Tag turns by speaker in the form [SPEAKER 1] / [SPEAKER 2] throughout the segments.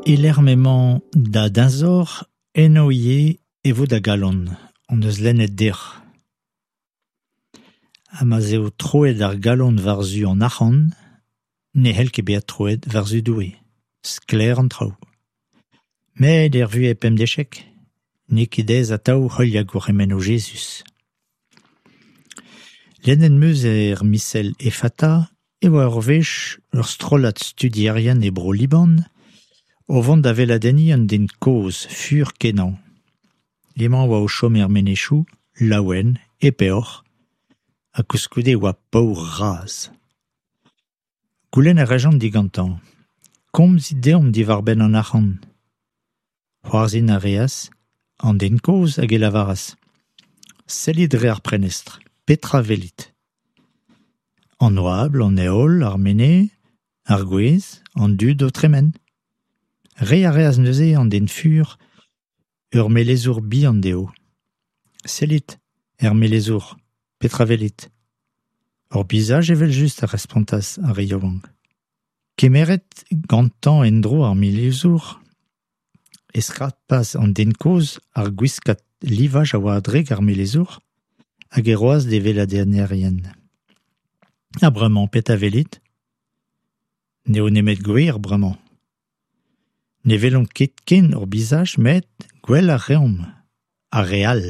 [SPEAKER 1] E-lec'h m'emañ da deñzor eno ivez e vo da galon, hon eus lennet dec'h. Ha ma'z eo troet ar galon war-zu an arc'hant ne c'hell ket bezañ troet war-zu Doue, sklaer an traoù. Met er vuhez pemdeziek n'eo ket aes atav heuliañ gourc'hemennoù Jezuz. Lennet 'm eus er misel Effata e oa ur wech ur strollad studierien e Bro-Liban o vont da weladenniñ un den kozh fur-kenañ. Hemañ a oa o chom er menezioù, laouen, e peoc'h, ha koulskoude e oa paour-razh. Goulenn a rejont digantañ : Komzit deomp diwar-benn an arc'hant. C'hoarzhin a reas an den kozh hag e lavaras : Sellit dre ar prenestr, petra a welit ? An oabl, an heol, ar menez, ar gwez, an dud o tremen. Reiñ a reas neuze an den fur ur melezour bihan dezho. Sellit er melezour, petra a welit ? Hor bizaj evel-just a respontas ar re yaouank. Kemeret gantañ en-dro ar melezour e skrapas an den kozh ar gwiskad livaj a oa a-drek ar melezour hag e roas d'e weladennerien. Ha bremañ petra a welit ? N'eo nemet gwer bremañ. Ne welomp ket ken hor bizaj met gwel a reomp ar re all.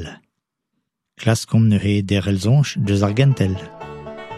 [SPEAKER 1] Klaskomp neuze derc'hel soñj eus ar gentel.